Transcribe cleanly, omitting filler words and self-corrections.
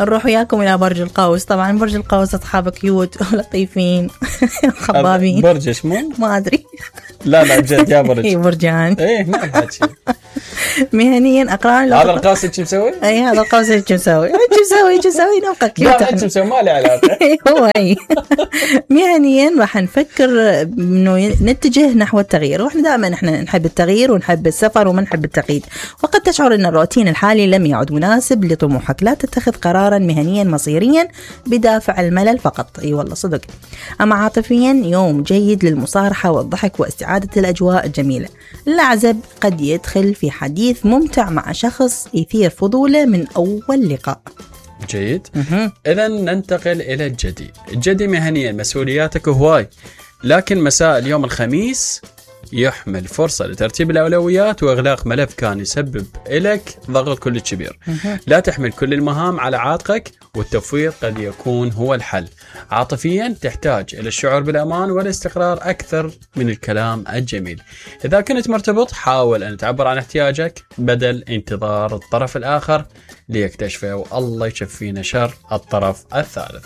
نروح وياكم إلى برج القوس. طبعا برج القوس أصحاب كيوت ولطيفين خبابين. برج اسمه ما أدري. لا جد يا برج. برجان. إيه ما أحكي. مهنيا أقران. هذا القوس شو مسوي؟ أي هذا القوس شو مسوي؟ شو مسوي نبقى كيوت. لا شو مسوي ما له علاقة. هو هي. مهنيا راح نفكر إنه نتجه نحو التغيير، وإحنا دائما إحنا نحب التغيير ونحب السفر وما نحب التقييد. وقد تشعر أن الروتين الحالي لم يعد مناسب لطموحك. لا تتخذ قرارا مهنيا مصيريا بدافع الملل فقط. أي والله صدق. أما عاطفيا يوم جيد للمصارحة والضحك واستعادة الأجواء الجميلة. العزب قد يدخل في حديث ممتع مع شخص يثير فضوله من أول لقاء. جيد. إذن ننتقل إلى الجدي. الجدي مهنيا مسؤولياتك هواي، لكن مساء اليوم الخميس يحمل فرصة لترتيب الأولويات وإغلاق ملف كان يسبب لك ضغط كل كبير. لا تحمل كل المهام على عاتقك، والتفويض قد يكون هو الحل. عاطفيا تحتاج إلى الشعور بالأمان والاستقرار أكثر من الكلام الجميل. إذا كنت مرتبط حاول أن تعبر عن احتياجك بدل انتظار الطرف الآخر ليكتشفه، والله يشفينا شر الطرف الثالث.